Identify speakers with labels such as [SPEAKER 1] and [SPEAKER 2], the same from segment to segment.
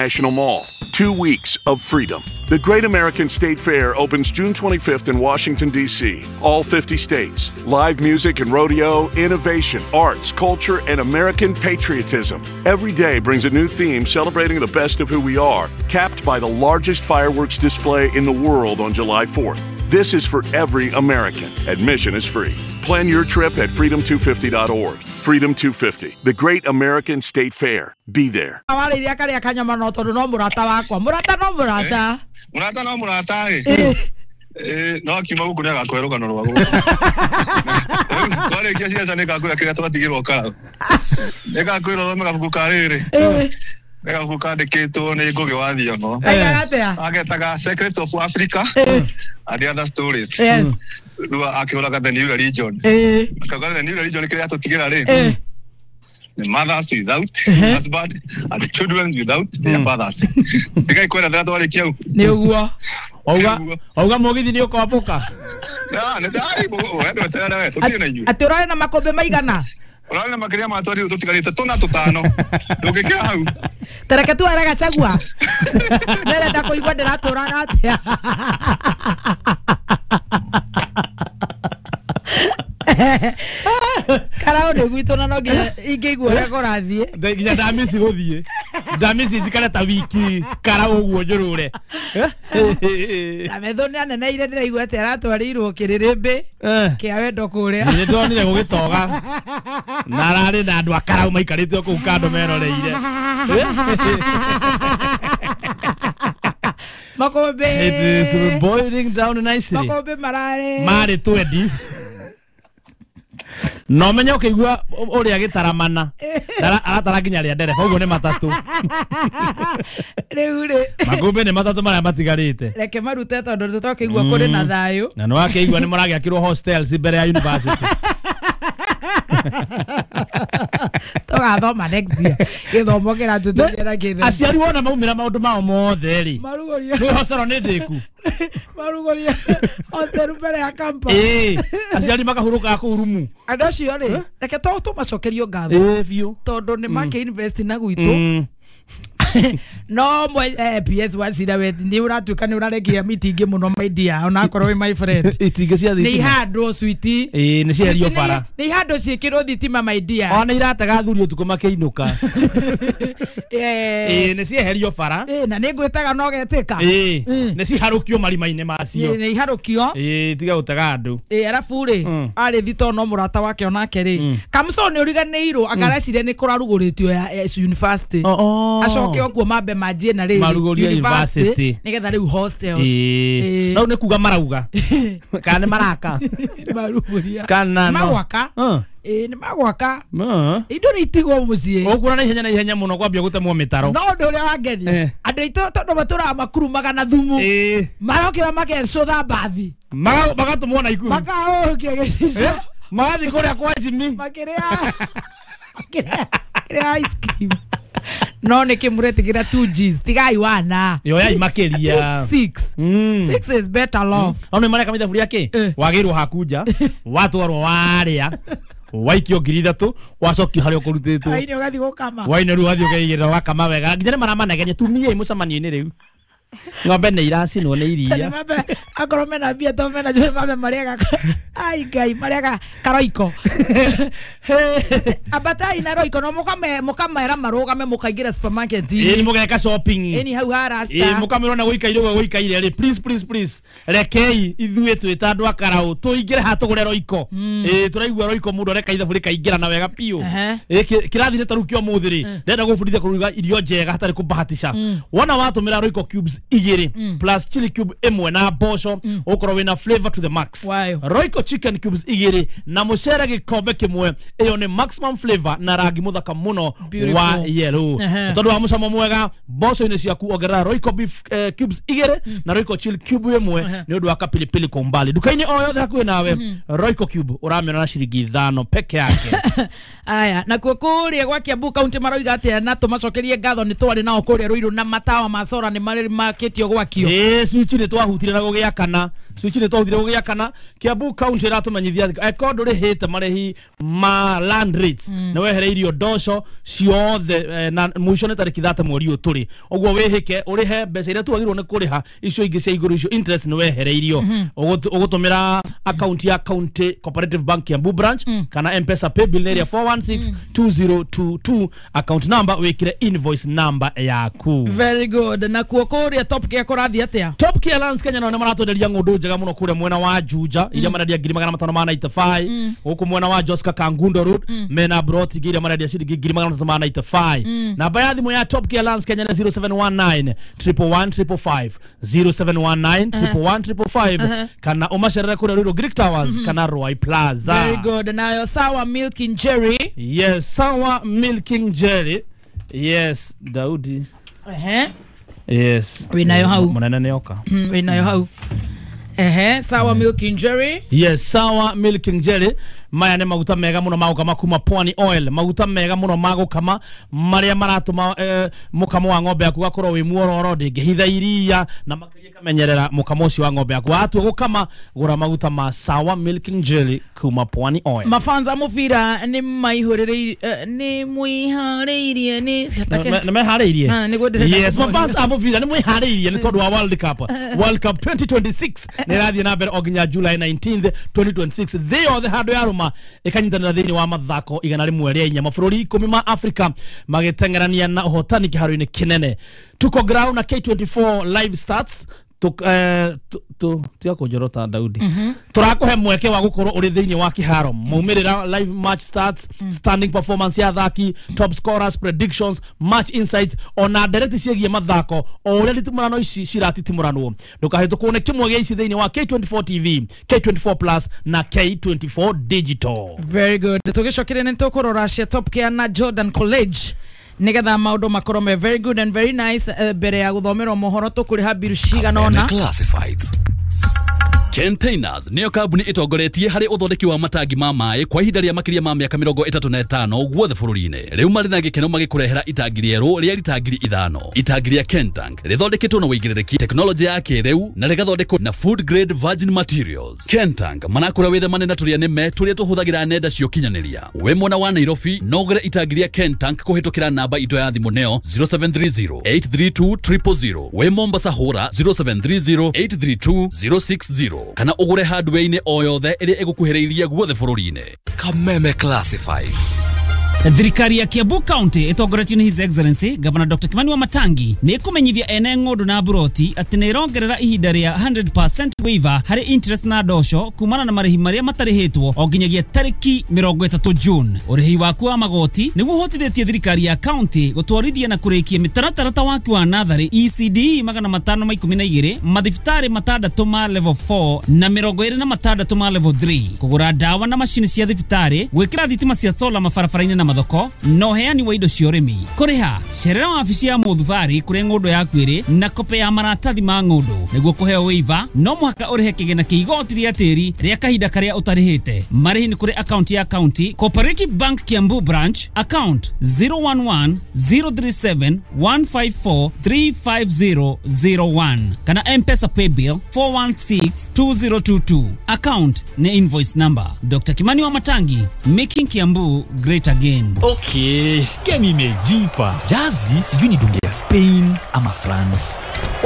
[SPEAKER 1] National Mall. 2 weeks of freedom. The Great American State Fair opens June 25th in Washington, D.C. All 50 states. Live music and rodeo, innovation, arts, culture, and American patriotism. Every day brings a new theme celebrating the best of who we are, capped by the largest fireworks display in the world on July 4th. This is for every American. Admission is free. Plan your trip at freedom250.org. Freedom 250, the Great American State Fair. Be there.
[SPEAKER 2] Warĩirie karĩa kanyama no tondũ no mũrata wakwa, mũrata no mũrata.
[SPEAKER 3] Mũrata no mũrata ĩ. No akiuma gũkũ nĩ agakũhe rũgano rwa gũkũ. Twarĩkia ciaca nĩ ngakwĩra kĩrĩa twatigĩrwo karaũ. Nĩ ngakwĩra ũthome gabuku ka rĩrĩ. Nĩ gabuku kandĩkĩtwo nĩ Ngũgĩ wa Thiong'o.
[SPEAKER 2] Aigaga atĩa?
[SPEAKER 3] Agetaga Secrets of Africa and Other Stories.
[SPEAKER 2] Yes.
[SPEAKER 3] Rĩu akĩũraga The New Religion. Akauga The New Religion kĩrĩa tũtigĩra rĩ. The mothers without husband and children without their fathers. Ndigai kwenda ndĩratwarĩkia hau.
[SPEAKER 2] Nĩ ũguo.
[SPEAKER 4] Wauga mũgithi nĩ ũkombũka.
[SPEAKER 3] Ah, nĩ ndari we ndweterere we tũtirĩ na inyuĩ.
[SPEAKER 2] Atĩ ũrarĩ na makũmbĩ maigana?
[SPEAKER 3] Ũrarĩ na makĩria ma twariũ tũtigarĩte tũna tũtano. Ndũngĩkĩra hau.
[SPEAKER 2] Tareke tuere Gachagua. Nderenda kũigua ndĩratũraga atĩa. Karao nĩ gwitũ na no nginya ingĩigua ũrĩa kũrathiĩ.
[SPEAKER 4] Nginya ndamici gũthiĩ. Ndamici njikare ta wiki karau ũguo njũrũre.
[SPEAKER 2] Na metho nĩ aneneire ndĩraigua atĩ aratwarĩirwo kĩrĩrĩmbĩ kĩa wendo kũrĩa.
[SPEAKER 4] Nĩ ndonire gũgĩtoga. Na ararĩ na andũ a karau maikarĩte o kũu kando meroreire.
[SPEAKER 2] Makũmbĩ.
[SPEAKER 4] It is boiling down nicely.
[SPEAKER 2] Makũmbĩ mararĩ.
[SPEAKER 4] Marĩ 20. No menye ũkĩigua ũrĩa gĩtaramana aratara nginya rĩa ndereba ũguo nĩ matatũ.
[SPEAKER 2] Rĩu rĩ
[SPEAKER 4] makũmbĩ nĩ matatũ marĩa matigarĩte.
[SPEAKER 2] Reke marute tondũ tũtokĩigua kũrĩ na thayũ.
[SPEAKER 4] Na nĩ wakĩigua nĩ mũragĩakĩrwo hostels mbere ya university.
[SPEAKER 2] Tũgathoma next year. Gĩthomo kĩratũteithia kĩthe.
[SPEAKER 4] Aciari wona maumĩra maũndũ mao mothe rĩ.
[SPEAKER 2] Marugũria.
[SPEAKER 4] Rĩu hostel nĩ ndĩku.
[SPEAKER 2] Marugũria hostel mbere ya campus.
[SPEAKER 4] Aciari makahurũka kũu rumu.
[SPEAKER 2] Andũ acio rĩ, reke tũmacokerio ngatho.
[SPEAKER 4] Biũ.
[SPEAKER 2] Tondũ nĩ makĩ invest na gwitũ. No PS Wachira we nĩ ũratuĩka nĩ ũrarekia mitingĩ mũno my dear, ona akorwo wĩ my friend.
[SPEAKER 4] Itingĩ cia thitima.
[SPEAKER 2] Nĩ ihandwo switi.
[SPEAKER 4] Nĩ cierio bara.
[SPEAKER 2] Nĩ ihandwo ciĩkĩrwo thitima my dear.
[SPEAKER 4] Ona iratega athuri ũtukũ makĩinũka. Nĩ cieherio bara.
[SPEAKER 2] Na nĩ ngwĩtaga no getĩka.
[SPEAKER 4] Nĩ ciharũkio marima-inĩ macio.
[SPEAKER 2] Nĩ iharũkio.
[SPEAKER 4] Tiga gũtega andũ.
[SPEAKER 2] Arabu rĩ, arĩ thito no mũrata wake onake rĩ. Kamso nĩ ũriganĩirwo angareciria nĩ kũrarugũrĩtio ya university. Acoke okuo mambe manjie na rĩrĩ
[SPEAKER 4] university
[SPEAKER 2] nĩgetha rĩu hostels.
[SPEAKER 4] No nĩ kuga marauga. Kana nĩ maraka.
[SPEAKER 2] Marugũria.
[SPEAKER 4] Kana no.
[SPEAKER 2] Magwaka. Nĩ magwaka. Indo nĩ itigwo mũciĩ.
[SPEAKER 4] Ũkuona na ihenya na ihenya mũno kwambia gũtemwo mĩtaro.
[SPEAKER 2] No ũndũ ũrĩa wangenia. Andũ aitũ tondũ matũraga makurumaga na thumu. Marokĩra makecũtha mbathi.
[SPEAKER 4] Magatũmwo na ikuũ.
[SPEAKER 2] Makaũkia gĩcicio.
[SPEAKER 4] Magathiĩ kũrĩa kwa Jimmy.
[SPEAKER 2] Makĩrĩa ice cream. No nä kä må retä kä ra 2 Gs tigai wana
[SPEAKER 4] yoyai makĩria
[SPEAKER 2] 6 6 is better love.
[SPEAKER 4] No nĩ mareka mithaburia kĩ wagĩrwo hakunja watwarwo warĩa waikio 3,000 wacokio harĩa ũkũrutĩtwo
[SPEAKER 2] waine ũgathiĩ gũkama
[SPEAKER 4] waine rĩu wathiĩ ũkeigĩrĩra ũgakama wega nginya nĩ maramanegenia tumiei mũcemanio-inĩ rĩu ng'ombe nĩ iracinwo nĩ iria
[SPEAKER 2] akorwo mena mbia to mena cio mambe marĩaga ai Ngai marĩaga karoiko ambatai na roiko no mũkamera marũgame mũkaingĩra supermarket
[SPEAKER 4] ĩni mũgeka shopping
[SPEAKER 2] ĩni hau ha rasta
[SPEAKER 4] mũkamĩrwo na gũikaire ũguo gũikaire rĩ please please please rekei ithuĩ twĩ ta andũ a karaũ tũingĩre haha tũgũre roiko tũraigua roiko mũndũ areka ithabu rĩkaingĩra na wega biũ kĩrathi ta rĩu kĩa ũmũthĩ rĩ ndĩrenda gũbundithia kũruga irio njega hatarĩ kũbahatisha wona watũmĩra roiko cubes 2 plus chili cube 1 na mboco ũkorwo wĩna flavor to the max. Royco chicken cubes 2 na mũcere gĩkombe kĩmwe ĩyo nĩ maximum flavor na rangi mũthaka mũno wa yellow tondũ wa mũcamo mwega mboco-inĩ ciaku ongerera Royco beef cubes 2 na Royco chili cube 1 nĩ ũndũ wa kapilipili kwa umbali duka-inĩ o yothe hakuhĩ nawe. Royco cube ũramĩona na ciringi 5 peke yake.
[SPEAKER 2] Aya nakuo kũrĩa gwa Kiambu County maroiga atĩa na tũmacokerie ngatho nĩ twarĩ nao kũrĩa Ruiru na matawa ma sora nĩ marĩ makĩtio gwakio.
[SPEAKER 4] Switch nĩ twahutire na gũgĩakana Switch nĩ twahũthire gũgĩakana. Kiambu County ĩratũmenyithia eko ndũrĩhĩte marĩhi ma land rates nĩ wehereirio ndoco ciothe na mũico nĩ tarĩki 30 mweri ũyũ tũrĩ. Ũguo wĩhĩke ũrĩhe mbeca iria twagĩrĩirwo nĩ kũrĩha icio ingĩ cia igũrũ icio interest nĩ wehereirio. Ũgũtũmĩra account ya County Cooperative Bank Kiambu branch kana M-Pesa paybill area 4162022 account number wikire invoice number yaku.
[SPEAKER 2] Very good. Na kuo kuria Top Care kurathi atia?
[SPEAKER 4] Top Care Lands Kenya nao maratwenderia ng'ũndũ njega mũno kuria mwena wa Juja iria marendia 595 guku mwena wa Joska Kangundo Road mena broti iria marendia ciringi 595. Namba ya thimu ya Top Care Lands Kenya ni 0719 111 555 0719 111 555 kana umacerere kuria Ruiru Greek Towers kana Roy Plaza.
[SPEAKER 2] Very good. Nayo Sawa Milking Jerry.
[SPEAKER 4] Yes, Sawa Milking Jerry. Yes, Daudi. Yes.
[SPEAKER 2] Winayo hau.
[SPEAKER 4] Munene nioka.
[SPEAKER 2] Winayo hau. Sawa Milking Jerry.
[SPEAKER 4] Yes, Sawa Milking Jerry. Maya nĩ maguta mega mũno magũkama kuma Pwani Oil, maguta mega mũno magũkama marĩa maratũma mũkamo wa ng'ombe yaku gakorwo wĩ muororo, ndĩngĩhitha iria na makĩria kamenyerera mũkamo ũcio wa ng'ombe yaku. Watua gũkama gũra maguta ma Sawa Milking Jelly kuma Pwani Oil.
[SPEAKER 2] Mafanza mũbira nĩ maihũrĩrĩirie nĩ mwĩharĩirie nĩ
[SPEAKER 4] meharĩirie. Yes, mafanza a mũbira nĩ mwĩharĩirie nĩ tondũ wa World Cup. World Cup 2026 nĩ ĩrathiĩ na mbere o nginya July 19th 2026. Thĩ yothe handũ ya rũma ikanyitanĩra thĩinĩ wa mathako 104 mabũrũri 10 ma Afrika magĩteng'erania na ũhotani kĩharo-inĩ kĩnene. Tuko ground na K24 live stats tiga kũnjorota Daudi. Tũrakũhe mweke wa gũkorwo ũrĩ thĩinĩ wa kĩharo maumĩrĩra live match stats, standing performance ya athaki, top scorers, predictions, match insights ona ndereti ciĩgiĩ mathako o ũrĩa nditimũrano ici ciratitimũranwo. Ndũkahĩtũkwo nĩ kĩmwe gĩa ici thĩinĩ wa K24 TV, K24 Plus na K24 Digital.
[SPEAKER 2] Very good. Tũgĩcokire nĩ tũkũrora cia Top Care na Jordan College nigetha maundu makorwo me very good and very nice. Mbere ya guthomerwo mohoro tukuriha biru cigana ona
[SPEAKER 5] classifieds. Containers niyo kambuni itongoretie harĩ ũthondeki wa matangi ma maĩ kwa ihinda rĩa makĩria ma mĩaka 35 guothe bũrũri-inĩ. Rĩu marĩ na gĩkeno magĩkũrehera itangi rĩerũ rĩa rita 5000. Itangi rĩa Kentank rĩthondeketwo na ũigĩrĩrĩki, teknolojĩ ya kĩrĩu na rĩgathondekwo na food grade virgin materials. Kentank manakũra wĩthemane na tũrĩa nĩme tũrĩa tũhũthagĩra nenda cia ũkinyanĩria. Wĩ mwena wa Nairobi no ũgũre itangi rĩa Kentank kũhĩtũkĩra namba itũ ya thimũ nĩyo 0730 832 000. Wĩ Mombasa hũra 0730 832 060 kana ũgũre hardware-inĩ o yothe ĩrĩa ĩgũkuhĩrĩirie guothe bũrũri-inĩ. Kameme Classifieds.
[SPEAKER 6] Thirikari ya Kiambu County ĩtongoretio nĩ His Excellency Governor Dr. Kimani Wamatangi nĩ ĩkũmenyithia ene ng'ũndũ na buroti atĩ nĩ ĩrongerera ihinda rĩa 100% waiver harĩ interest na ndoco kumana na marĩhi marĩa matarĩhĩtwo o nginyagia tarĩki 30 June. Ũrĩhi waku wa magoti nĩguo ũhotithĩtie thirikari ya county gũtwarithia na kũrĩkia mĩtaratara ta waki wa natharĩ ECD 512, mathibitarĩ 6 ma level 4 na 26 ma level 3, kũgũra ndawa na macini cia thibitarĩ, gwĩkĩra thitima cia solar mabarabara-inĩ na mathoko na ũheani wa indo cia ũrĩmi. Kũrĩha cerera wabici ya mũthubarĩ kũrĩa ng'ũndũ yaku ĩrĩ na kope ya maratathi ma ng'ũndũ. Nĩguo kũheo waiver no mũhaka ũrĩhe kĩgĩna kĩa igoti rĩa tĩri rĩa kahinda karĩa ũtarĩhĩte. Marĩhi nĩ kũrĩ akaunti ya county Cooperative Bank Kiambu branch account 011 037 154 35001 kana M-Pesa paybill 416 2022. Account ni invoice number. Dr. Kimani Wamatangi, making Kiambu great again.
[SPEAKER 7] Okay, game imejipa. Jazi sijui ni dunge ya Spain ama France.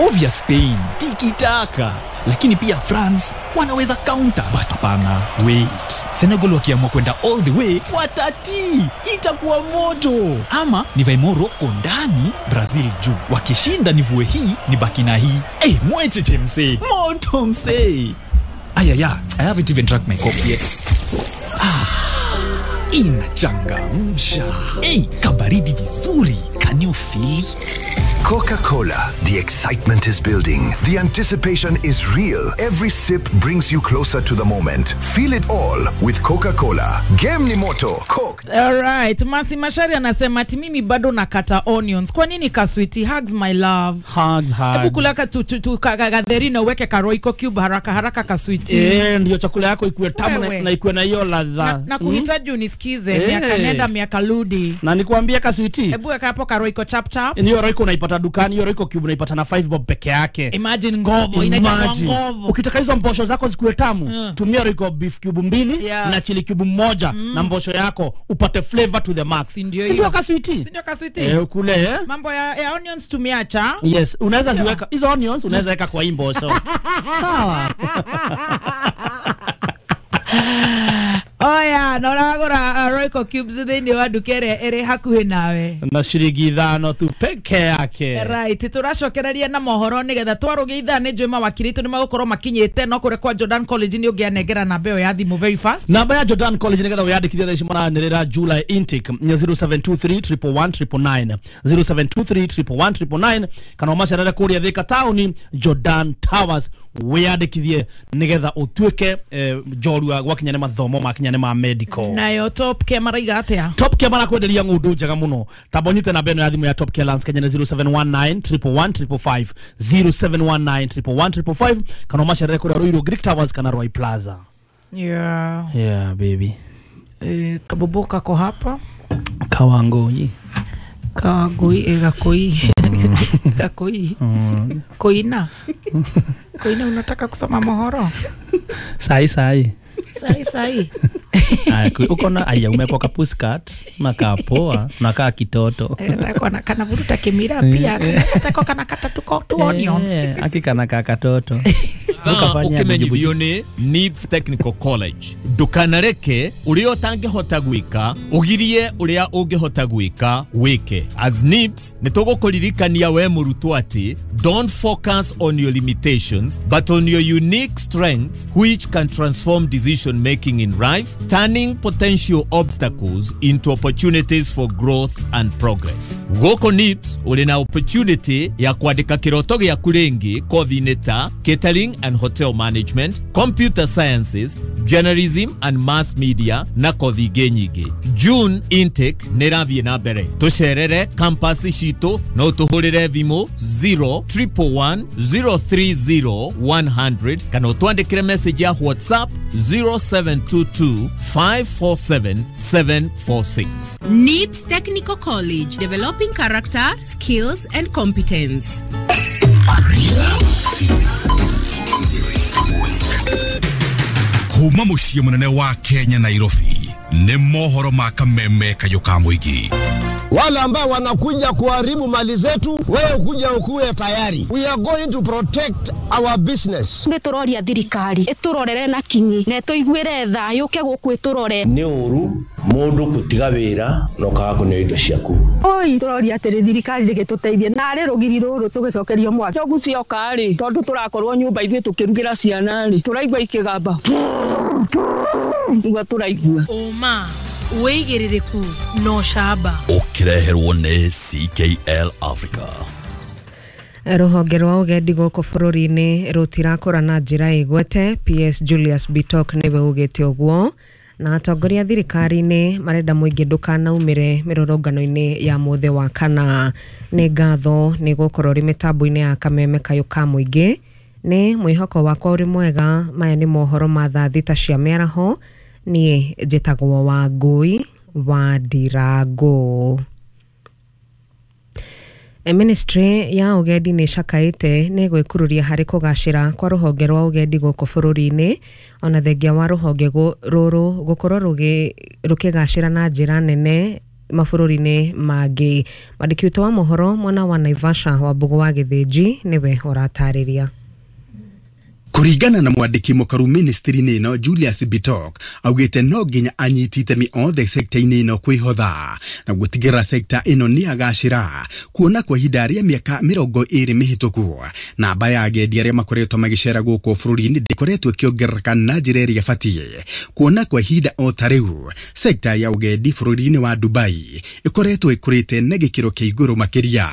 [SPEAKER 7] Obvious Spain, tiki-taka. Lakini pia France wanaweza counter. But hapana, wait. Senegal wakiamua kwenda all the way, watati. Itakuwa moto. Ama nivae Morocco ndani, Brazil juu. Wakishinda nivue hii, nibaki na hii. Eh, mwecheche msee. Moto msee. Ayaya, I haven't even drank my coffee yet. Ah. Inachangamsha. Hey, kabaridi vizuri. Can you feel it?
[SPEAKER 8] Coca-Cola. The excitement is building. The anticipation is real. Every sip brings you closer to the moment. Feel it all with Coca-Cola. Game ni moto. Coke.
[SPEAKER 2] All right. Masi Mashari anasema ati mimi bado nakata onions. Kwa nini kaswiti? Hugs my love.
[SPEAKER 4] Hugs, hugs.
[SPEAKER 2] Hebu kulaka tu kagatherina uweke karoiko cube haraka haraka kaswiti.
[SPEAKER 4] Eh, ndio chakula yako ikuwe tamu na ikuwe na hiyo ladha.
[SPEAKER 2] Na kuhitaji unisikize miaka nenda miaka rudi.
[SPEAKER 4] Na nikwambia kaswiti.
[SPEAKER 2] Hebu weka hapo karoiko chap chap.
[SPEAKER 4] Ndio roiko unaipata Unaipata dukani hiyo Royco cube unaipata na 5 bob peke yake.
[SPEAKER 2] Imagine ngovo, inaitwa ngovo.
[SPEAKER 4] Ukitaka hizo mbosho zako zikuwe tamu, tumia Royco beef cube 2 na chili cube 1 na mbosho yako upate flavor to the max. Sindio kaswiti?
[SPEAKER 2] Sindio kaswiti?
[SPEAKER 4] Kule
[SPEAKER 2] Mambo ya onions tumiacha.
[SPEAKER 4] Yes, unaweza ziweka hizo onions unaweza weka kwa hii mbosho. Sawa.
[SPEAKER 2] Oya, na ũragũra Royco cubes thĩinĩ wa nduka ĩrĩa ĩrĩ hakuhĩ nawe
[SPEAKER 4] na ciringi 5 tu peke yake.
[SPEAKER 2] Right, tũracokereria na mohoro nĩgetha twarũgia ithaa nĩ njũĩ mawakiri itũ nĩ magũkorwo makinyĩte no kũrĩa kwa Jordan College nĩ ũngĩanengera namba ĩyo ya thimũ very fast.
[SPEAKER 4] Namba ya Jordan College nĩgetha wĩyandĩkithie thaa ici maranĩrĩra July intake ni 0723 111 999 0723 111 999 kana ũmacerere kũrĩa Thika Town Jordan Towers wĩyandĩkithie nĩgetha ũtuĩke njorua gwakinya nĩ mathomo makinya nĩ ma medical.
[SPEAKER 2] Nayo Top Care maraiga atia?
[SPEAKER 4] Top Care marakwenderia ng'ũndũ njega mũno. Tamba ũnyite namba ĩno ya thimũ ya Top Care Lands Kenya nĩ 0719 111 555 0719 111 555 kana ũmacerere kũrĩa Ruiru Greek Towers kana Roy Plaza.
[SPEAKER 2] Yeah.
[SPEAKER 4] Yeah baby.
[SPEAKER 2] Kabobo kako hapa.
[SPEAKER 4] Kawangoi.
[SPEAKER 2] Kawangoi gakoi. Gakoi. Koina. Koina unataka kusoma mohoro?
[SPEAKER 4] Sai sai.
[SPEAKER 2] Sai sai.
[SPEAKER 4] Uko na aya umekuwa ka pussycat makapoa nakaa kitoto.
[SPEAKER 2] Nataka na kana vuruta kimira pia. Nataka kana kata tuko tu onions.
[SPEAKER 4] Hakika na kaka toto.
[SPEAKER 9] Ukimenyithio ni NIBS Technical College. Ndukanareke uria utangihota gwika ugirie uria ungihota gwika wike. As NIBS nitugukuririkania we murutwo ati don't focus on your limitations but on your unique strengths which can transform decision making in life, turning potential obstacles into opportunities for growth and progress. Goko NIBS uri na opportunity ya kwandika kiroto giaku ringi kothi-inĩ ta catering and hotel management, computer sciences, journalism and mass media na kothi ingĩ nyingĩ. June intake nĩ ĩrathiĩ na mbere. Tũcerere campus citũ no tũhũrĩre thimũ 0 111 030 100 kana ũtwandĩkĩre message ya WhatsApp 0722 547 746.
[SPEAKER 10] NIBS Technical College, developing character, skills and competence.
[SPEAKER 11] Kuma muciĩ mũnene wa Kenya Nairobi nĩ mohoro ma kameme kayũ ka mũingĩ.
[SPEAKER 12] Wale ambao wanakuja kuharibu mali zetu, wewe kuja ukuwe tayari. We are going to protect our business.
[SPEAKER 13] Nĩ tũroria thirikari ĩtũrorere na kinyi na ĩtũiguĩre tha yũke gũkũ ĩtũrore.
[SPEAKER 14] Nĩ ũru mũndũ gũtiga wĩra na ũkaga kũneo indo ciaku.
[SPEAKER 15] Oi tũroria atĩrĩ thirikari rĩgĩtũteithie narĩ rũgiri rũrũ tũgĩcokerio mwaki.
[SPEAKER 16] Njogu cioka rĩ tondũ tũrakorwo nyũmba ithuĩ tũkĩrugĩra ciana rĩ tũraigua ikĩgamba nĩguo tũraigua.
[SPEAKER 17] Ũma wĩigĩrĩrĩku no camba
[SPEAKER 5] ũkĩreherwo nĩ CKL Africa.
[SPEAKER 18] Rũhonge rwa ũgendi gũkũ bũrũri-inĩ rũtirakũra na njĩra ĩgwete. PS Julius Bitok nĩwe ugĩte ũguo na atongoria thirikari-inĩ marenda mũingĩ ndũkanaumĩre mĩrũrũngano-inĩ ya mũthĩ wa kana. Nĩ ngatho nĩ gũkorwo rĩ mĩtambo-inĩ ya kameme kayũ ka mũingĩ. Nĩ mwĩhoko wakwa ũrĩ mwega. Maya nĩ mohoro ma thaa 6 cia mĩaraho. Niĩ njĩtagwo Wangũi wa Ndirango. Ministry ya ũgendi nĩ ĩcakaĩte nĩ gwĩkururia harĩ kũgacĩra kwa rũhonge rwa ũgendi gũkũ bũrũri-inĩ ona thengia wa rũhonge rũrũ gũkorwo rũkĩgacĩra na njĩra nene mabũrũri-inĩ mangĩ. Mwandĩki witũ wa mohoro mwena wa Naivasha Wambũgũ wa Gĩthĩnji nĩwe ũratarĩria.
[SPEAKER 19] Kuringana na mwandiki mukaru ministry-inĩ ĩno Julius Bitok augĩte no nginya anyiti itemi othe sekta-inĩ ĩno kwĩhotha na gũtigĩrĩra sekta ĩno nĩ yagacĩra kuona kwa ihinda rĩa mĩaka 20 mĩhĩtũku namba ya agendi arĩa makoretwo magĩcera gũkũ bũrũri-inĩ ndĩkoretwo ĩkĩongerereka na njĩra ĩrĩa ĩbatiĩ kuona kwa ihinda o ta rĩu sekta ya ũgendi bũrũri-inĩ wa Dubai ĩkoretwo ĩkũrĩte na gĩkĩro kĩa igũrũ makĩria.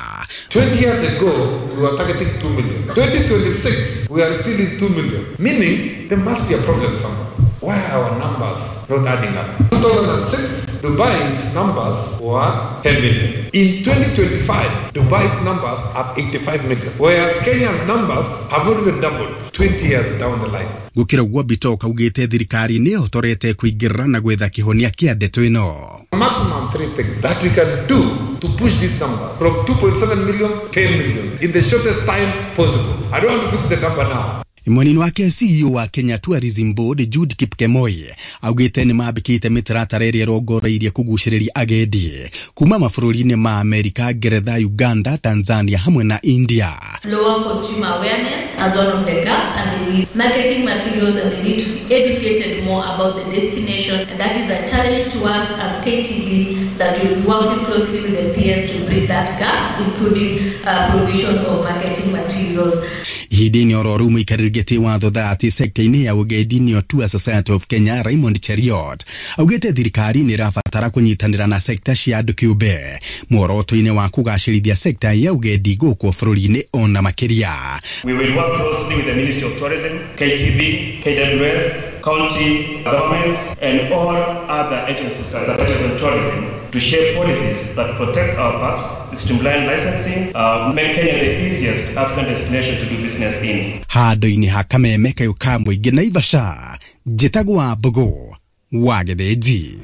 [SPEAKER 20] 20 years ago we were targeting 2 million. 2026 we are still in 2 million, meaning there must be a problem somewhere. Why are our numbers not adding up? 2006, Dubai's numbers were 10 million. In 2025, Dubai's numbers are 85 million, whereas Kenya's numbers have not even doubled 20 years down the line.
[SPEAKER 19] Gukira ũguo Bitok augĩte thirikari nĩ ĩhotorete kũingĩrĩra na gwetha kĩhonia kĩa ndeto ĩno.
[SPEAKER 20] Maximum three things that we can do to push these numbers from 2.7 million 10 million in the shortest time possible. I don't want to fix the number now.
[SPEAKER 19] Mwena-inĩ wake CEO wa Kenya Tourism Board Jude Kipkemoi augĩte nĩ mambĩkĩte mĩtaratara ĩrĩa ĩrongoreirie kũgucĩrĩria agendi kuma mabũrũri-inĩ ma Amerika, Ngeretha, Uganda, Tanzania hamwe na India.
[SPEAKER 21] Lower consumer awareness as one of the gap, and they need marketing materials and they need to be educated more about the destination, and that is a challenge to us as KTB that will be working closely with the PS to bridge that gap, including provision of marketing materials.
[SPEAKER 19] Ihinda-inĩ oro rĩu mũikarĩri gĩtĩ wa thothaatĩ sekta-inĩ ya ũgendi nĩyo Tour Society of Kenya Raymond Cheriot augĩte thirikari nĩ ĩrabatara kũnyitanĩra na sekta cia andũ kĩũmbe muoroto-inĩ wa kũgacĩrithia sekta ya ũgendi gũkũ bũrũri-inĩ ona makĩria.
[SPEAKER 22] We will work closely with the Ministry of Tourism, KTB, KWS, county governments and all other agencies that touch on tourism to shape policies that protect our parks, streamline licensing, make Kenya the easiest African destination to do business in.
[SPEAKER 19] Handũ-inĩ ha kameme kayũ ka mũingĩ Naivasha, njĩtagwo Wambũgũ wa Gĩthĩnji.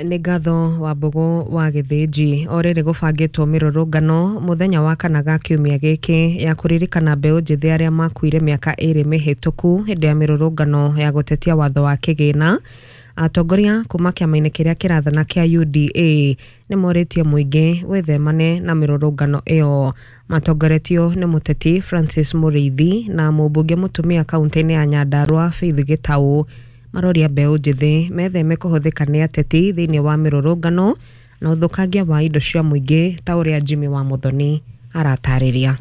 [SPEAKER 18] Nĩ ngatho Wambũgũ wa Gĩthĩnji. O rĩrĩ gũbangĩtwo mĩrũrũngano mũthenya wa kana ga kiumia gĩkĩ ya kũririkana mbeũ njĩthĩ arĩa makuire mĩaka 2 mĩhĩtũku hĩndĩ ya mĩrũrũngano ya gũtetia watho wa kĩgĩna. Atongoria kuma kĩama-inĩ kĩrĩa kĩrathana kĩa UDA nĩ morĩtie mũingĩ wĩthemane na mĩrũrũngano ĩyo. Matongoretio nĩ mũteti Francis Mũrĩithi na mũmbunge mũtumia kaunti-inĩ ya Nyandarua Faith Gĩtaũ. Maroria mbeũ njĩthĩ metheme kũhũthĩka nĩ ateti thĩinĩ wa mĩrũrũngano na ũthũkangia wa indo cia mũingĩ ta ũrĩa Jimmy wa Muthoni aratarĩria.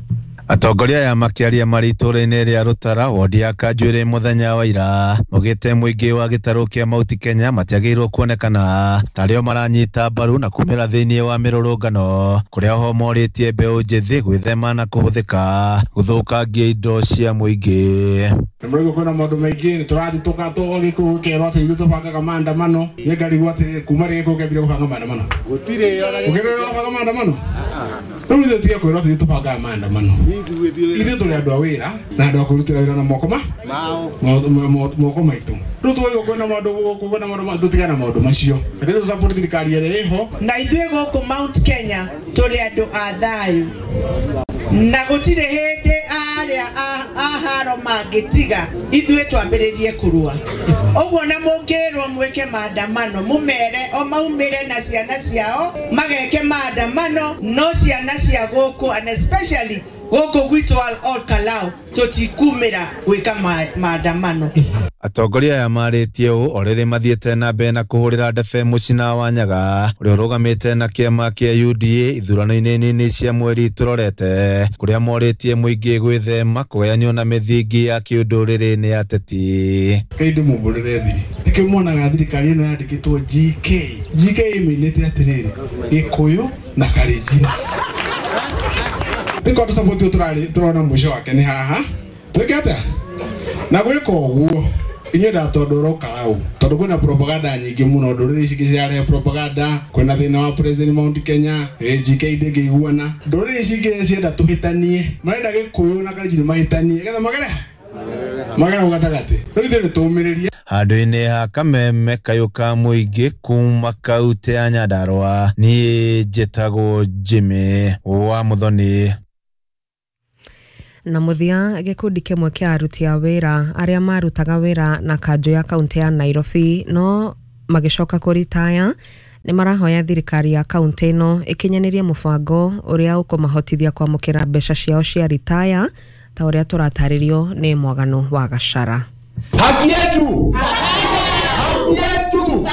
[SPEAKER 23] Atongoria aya makĩaria marĩ itũũra-inĩ rĩa Rũtara wodi ya Kanjuĩrĩ mũthenya wa ira maugĩte mũingĩ wa gĩtarũ kĩa Mount Kenya matiagĩrĩirwo kuonekana tarĩo maranyita mbaru na kumĩra thĩinĩ wa mĩrũrũngano kũrĩa ho morĩtie mbeũ njĩthĩ gwĩthema na kũhũthĩka gũthũkangia indo cia mũingĩ.
[SPEAKER 24] Nĩmũraigua kwĩna maũndũ maingĩ, nĩtũrathiĩ tũgagĩkũyũ gĩkerwo atĩ ithuĩ tũbangaga maandamano. Niĩ ngarigwo atĩrĩrĩ, kuma rĩ gĩkũyũ kĩambire gũbanga maandamano? Gũtirĩ ũkĩrĩ ũbanga maandamano? Rĩu ithuĩ tige kwĩrwo atĩ ithuĩ tũbangaga maandamano. Ithuĩ tũrĩ andũ a wĩra na andũ a kwĩrutĩra wĩra na moko moko maitũ. Rĩu tũgaigua kwĩna maũndũ gũkũ kwĩna maũndũ, tũtigane na maũndũ macio. Reke tũ support thirikari ĩrĩa ĩho.
[SPEAKER 25] Na ithuĩ gũkũ Mount Kenya tũrĩ andũ a thayũ na gũtirĩ hĩndĩ arĩa a haro mangĩtiga ithuĩ twambĩrĩrie kũrũa. Ũguo na mũngĩrwo mwĩke maandamano mũmere o maumĩre na ciana ciao mageke maandamano, no ciana cia gũkũ and especially gũkũ gwitũ Ol Kalou tũtikumĩra gwĩka maandamano.
[SPEAKER 23] Atongoria aya marĩtie ũũ o rĩrĩ mathiĩte na mbere na kũhũrĩra ndebe Mũcina wa Nyaga ũrĩa ũrũgamĩte na kĩama kĩa UDA ithurano-inĩ nini cia mweri tũrorete kũrĩa morĩtie mũingĩ gwĩthema kũgayanio na mĩthingi ya kĩũndũrĩrĩ nĩ ateti.
[SPEAKER 24] Kaĩ ndĩmumbũrĩre thiri, nĩkĩo muonaga thirikari ĩno yandĩkĩtwo GK. GK ĩmĩinĩte atĩrĩrĩ, Gĩkũyũ na Kalenjin. Nĩkĩo tũcaboti ũyũ tũrona mũico wake nĩ haha. Twĩke atĩa? Na gwĩka ũguo inyuĩ ndatondũ ũroka hau tondũ kwĩna propaganda nyingĩ mũno, ndũrĩrĩ ici ingĩ cirarehe propaganda, kwĩna thĩna wa President Mount Kenya, GK ndĩngĩiguana. Ndũrĩrĩ ici ingĩ cienda tũhĩtanie, marenda Gĩkũyũ na Kalenjin mahĩtanie getha magere magere gatagatĩ. Rĩu ithuĩ nĩtũmĩrĩrie.
[SPEAKER 23] Handũ-inĩ ha kameme kayũ ka mũingĩ kuma kaunti ya Nyandarua, niĩ njĩtagwo Jimmy wa Muthoni.
[SPEAKER 18] Na mũthia gĩkundi kĩmwe kĩa aruti a wĩra arĩa marutaga wĩra na kanjũ ya kaunti ya Nairobi no magĩcoka kũritaya nĩ marahoya thirikari ya kaunti ĩno ĩkinyanĩrie mũbango ũrĩa ũkũmahotithia kwamũkĩra mbeca ciao cia ritaya ta ũrĩa tũratarĩrio nĩ Mwagano wa Gachara.
[SPEAKER 26] Haki yetu! Haki yetu!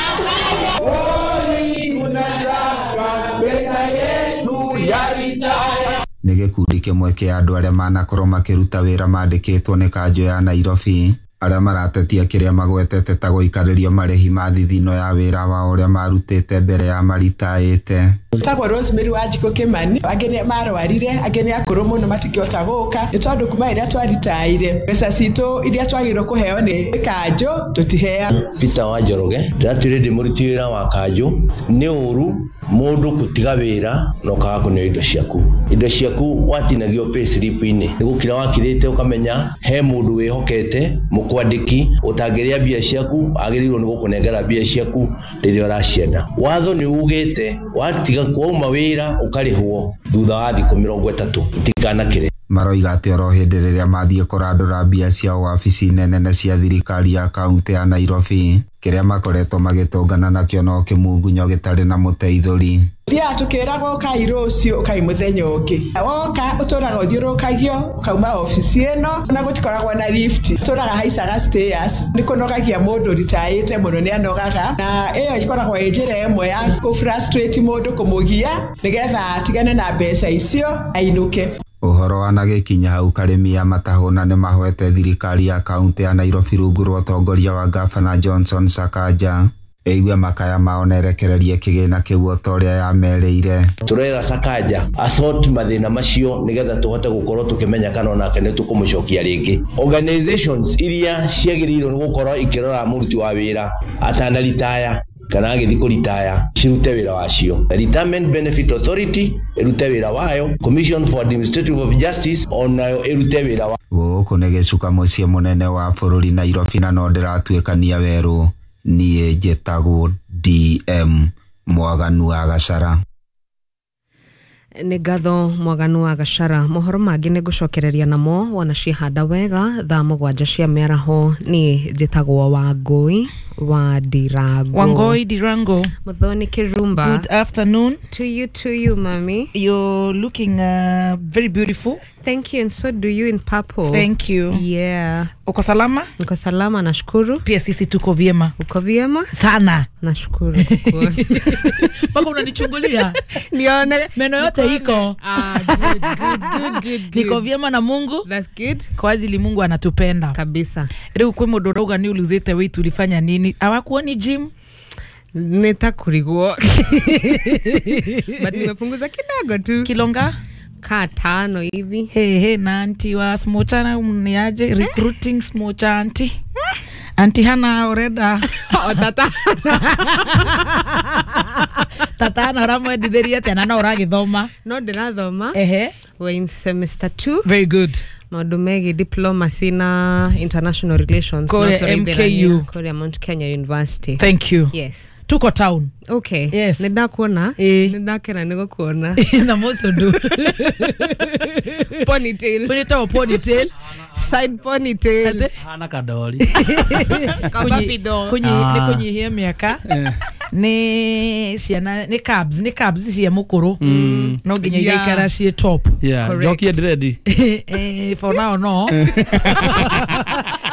[SPEAKER 26] Oi, unataka pesa yetu ya ritaya.
[SPEAKER 27] Nĩ gĩkundi kĩmwe kĩa andũ arĩa manakorwo makĩruta wĩra mandĩkĩtwo nĩ kanjũ ya Nairobi
[SPEAKER 1] Arĩa maratetia kĩrĩa magwetete ta gũikarĩrio marĩhi ma thithino ya wĩra wao ũrĩa marutĩte mbere ya maritaĩte.
[SPEAKER 2] Tagwo Rosemary Wanjikũ Kimani, angĩ nĩ marwarire, angĩ nĩ akũrũ mũno matingĩhota gũka, nĩ tondũ kuma rĩrĩa twaritaire mbeca citũ iria twagĩrĩirwo kũheo nĩ kanjũ tũtiheagwo.
[SPEAKER 14] Peter wa Njoroge ndĩratuire ndĩ mũruti wĩra wa kanjũ. Nĩ ũru mũndũ gũtiga wĩra na ũkaga kũneo indo ciaku. Indo ciaku watinagio pay slip-inĩ, nĩ gũkira wakirĩte ũkamenya he mũndũ wĩhokete mũkwandĩki ũtangĩrĩa mbia ciaku, agĩrĩirwo nĩ gũkũnengera mbia ciaku rĩrĩa ũracienda. Watho nĩ ugĩte watiga kwauma wĩra ũkarĩhwo thutha wa thikũ 30 itikanakĩre.
[SPEAKER 1] Maroiga atĩ oro hĩndĩ rĩrĩa mathiĩ kũrandũra mbia ciao wabici-inĩ nene cia thirikari ya kaunti ya Nairobi, kĩrĩa makoretwo magĩtũngana nakĩo no kĩmungunyo gĩtarĩ na mũteithũri.
[SPEAKER 2] Thiaga tũkĩragwo ũkai rũciũ, ũkai mũthenya ũngĩ. Woka ũtũraga ũthiũrũrũkagio ũkauma obici ĩno na gũtikoragwo na lift, ũtũraga haicaga stairs. Nĩ kũnogagia mũndũ ritaĩte mũno, nĩ anogaga, na ĩyo ĩkoragwo ĩ njĩra ĩmwe ya kũ frustrate mũndũ, kũmũgia nĩgetha atigane na mbeca icio ainũke.
[SPEAKER 1] Ũhoro wanagĩkinya hau Karĩmi ya Matahũna nĩ mahoete thirikari ya kaunti ya Nairobi rungu rwa ũtongoria wa Gavana Johnson Sakaja ĩigue makaya mao na ĩrekererie kĩgĩna kĩu o ta ũrĩa yamerĩire.
[SPEAKER 14] Turera Sakaja asort mathĩna macio nĩgetha tũhote gũkorwo tũkĩmenya kana onake nĩ tũkũmũcokia rĩngĩ. Organizations iria ciagĩrĩirwo nĩ gũkorwo ikĩrora mũruti wa wĩra atanaritaya kana agĩthiĩ kũritaya cirute wĩra wacio. Retirement Benefit Authority ĩrute wĩra wayo, Commission for Administrative of Justice onayo ĩrute wĩra wa.
[SPEAKER 1] Gũkũ nĩ gĩcuka mũciĩ mũnene wa bũrũri Nairobi, na no ndĩratuĩkania werũ. Niĩ njĩtagwo DM Mwaganu wa Gacara.
[SPEAKER 18] Nĩ ngatho Mwaganu wa Gacara. Mohoro mangĩ nĩ ngũcokereria namo wona ciehanda wega thaa 7 cia mĩaraho. Niĩ njĩtagwo Wangũi wa Ndirango.
[SPEAKER 3] Wangoi Dirango.
[SPEAKER 18] Muthoni Kirumba.
[SPEAKER 3] Good afternoon.
[SPEAKER 18] To you, mami.
[SPEAKER 3] You're looking very beautiful.
[SPEAKER 18] Thank you, and so do you in purple.
[SPEAKER 3] Thank you.
[SPEAKER 18] Yeah.
[SPEAKER 3] Uko salama?
[SPEAKER 18] Uko salama, nashukuru.
[SPEAKER 3] Pia sisi tuko vyema.
[SPEAKER 18] Uko vyema?
[SPEAKER 3] Sana.
[SPEAKER 18] Nashukuru.
[SPEAKER 3] Mpaka unanichungulia.
[SPEAKER 18] Nione.
[SPEAKER 3] Meno yote iko.
[SPEAKER 18] Ah, good.
[SPEAKER 3] Niko vyema na Mungu.
[SPEAKER 18] That's good.
[SPEAKER 3] Kwa ajili Mungu anatupenda.
[SPEAKER 18] Kabisa.
[SPEAKER 3] Rĩu kwĩ mũndũ ũrauga nĩ uluzĩte weight ulifanya nini? Hawakuoni gym?
[SPEAKER 18] Nitakurigwo. But nimepunguza kidogo tu.
[SPEAKER 3] Kilonga?
[SPEAKER 18] Ka 5 hivi.
[SPEAKER 3] Hey, na anti wa smochana mniaje recruiting smocha anti. Anti hana oreda.
[SPEAKER 18] O tata.
[SPEAKER 3] Tata na ramwenditheria tena na uragithoma.
[SPEAKER 18] No ndirathoma.
[SPEAKER 3] Ehe.
[SPEAKER 18] We're in semester 2.
[SPEAKER 3] Very good.
[SPEAKER 18] Maũndũ megiĩ diplomacy na international relations.
[SPEAKER 3] Kore MKU.
[SPEAKER 18] Kore Mount Kenya University.
[SPEAKER 3] Thank you.
[SPEAKER 18] Yes.
[SPEAKER 3] Tuko town.
[SPEAKER 18] Okay.
[SPEAKER 3] Yes.
[SPEAKER 18] Nĩndakuona. Nĩndakena nĩ gũkuona.
[SPEAKER 3] Na moco ndu.
[SPEAKER 18] Ponytail.
[SPEAKER 3] Ponytail, ponytail.
[SPEAKER 18] Side ponytail.
[SPEAKER 4] Hana kadori.
[SPEAKER 3] Nĩ kũnyihia mĩaka. Nĩ ciana nĩ cabs cia mũkũrũ. No nginya igaikara ciĩ top.
[SPEAKER 4] Yeah. Njokie dread.
[SPEAKER 3] For now no.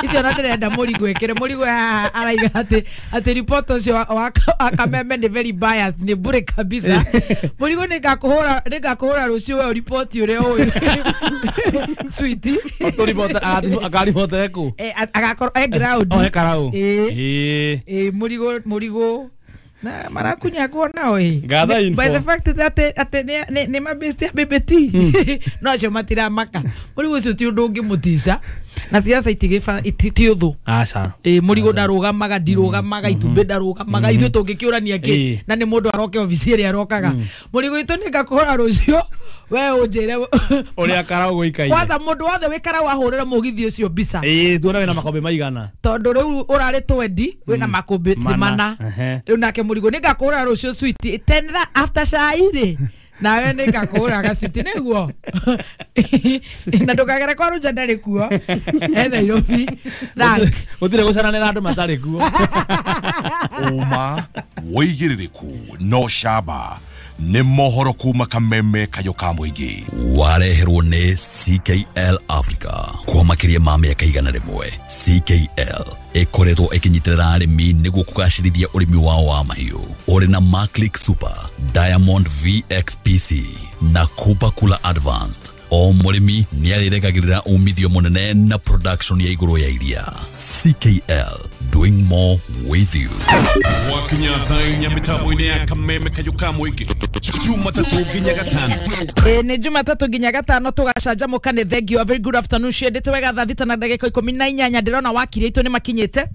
[SPEAKER 3] Icio na ndĩrenda mũrigo ĩkĩre mũrigo araiga atĩ report ũcio wa Kameme nĩ very biased, nĩ bure kabisa. Mũrigo nĩngakũhũra rũciũ we report ũrĩa ũyũ. Sweetie.
[SPEAKER 4] Akaribota kũ?
[SPEAKER 3] Agakorwo e ground.
[SPEAKER 4] Oh, e karau.
[SPEAKER 3] Ĩĩ mũrigo na marakunyagwo nao ĩ.
[SPEAKER 4] Gather info.
[SPEAKER 3] By the fact that atĩ nĩ mabĩsti a BBT. No acio matiramaka. Mũrigo ũcio ti ũndũ ũngĩmũtica. Na siasa itigĩba ti ũthũ.
[SPEAKER 4] Aca.
[SPEAKER 3] Ĩ mũrigo ndarũgamaga, ndirũgamaga, itumbĩ ndarũgamaga, ithuĩ tũngĩkĩũrania kĩ na nĩ mũndũ aroke obici ĩrĩa arokaga. Mũrigo itũ nĩngakũhũra rũciũ we ũnjĩre
[SPEAKER 4] ũrĩa karau gũikaire.
[SPEAKER 3] Kwanza mũndũ wothe wĩ karau ahũrĩre mũgithi ũcio mbica.
[SPEAKER 4] Ĩ tuone wĩna makũmbĩ maigana.
[SPEAKER 3] Tondũ rĩu ũrarĩ 20 wĩna makũmbĩ 4. Rĩu nake mũrigo nĩngakũhũra rũciũ sweet 10 after cai rĩ. Nawe nĩngakũhũra gacuti nĩguo. Na ndũkagere kwa Rũnja ndarĩ kuo. E Nairobi.
[SPEAKER 4] Gũtirĩ gũcaranĩra andũ matarĩ kuo.
[SPEAKER 11] Ũma wĩigĩrĩrĩku no camba nĩ mohoro kuma Kameme kayo ka mũingĩ.
[SPEAKER 5] Wareherwo nĩ CKL Africa kwa makĩria ma mĩaka 100. CKL ĩkoretwo ĩkĩnyitĩrĩra arĩmi nĩguo kũgacĩrithia ũrĩmi wao wa mahiũ. Ũrĩ na Maclick Super, Diamond VXPC na Kupa Kula Advanced. O mũrĩmi nĩarĩrekagĩrĩra umithio mũnene na production ya igũrũ ya iria. CKL, doing more with you.
[SPEAKER 11] Gwakinya thaa inya mĩtambo-inĩ ya kameme kayũ ka mũingĩ Jumatatũ nginya gatano.
[SPEAKER 3] Nĩ Jumatatũ nginya gatano tũgacanjamũka. Nĩ thank you, a very good afternoon. Ciendete wega thaa 6:18. Ndĩrona wakiri aitũ nĩ makinyĩte.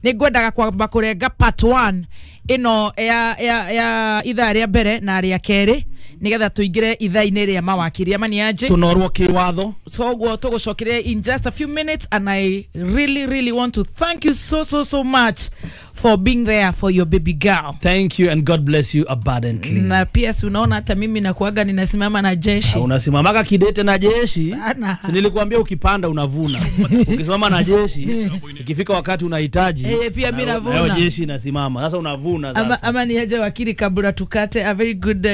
[SPEAKER 3] Nĩ ngwendaga kwamba kũrenga part 1 ĩno ya ithaa rĩa mbere na rĩa kerĩ nĩgetha tũingĩre ithaa-inĩ rĩa mawakiri ama nĩ aje
[SPEAKER 4] tũnorwo kĩwatho.
[SPEAKER 3] So ũguo tũgũcokere in just a few minutes, and I really really want to thank you so so so much for being there for your baby girl.
[SPEAKER 4] Thank you and God bless you abundantly.
[SPEAKER 3] Na PS, unaona hata mimi nakuaga ninasimama na jeshi.
[SPEAKER 4] Unasimamaga kidete na jeshi.
[SPEAKER 3] Sana.
[SPEAKER 4] Si nilikuambia ukipanda unavuna. Ukisimama na jeshi, ikifika wakati unahitaji,
[SPEAKER 3] pia mimi navuna.
[SPEAKER 4] Nayo jeshi inasimama. Sasa unavuna sasa.
[SPEAKER 3] Ama ni aje wakili, kabla tukate, a very good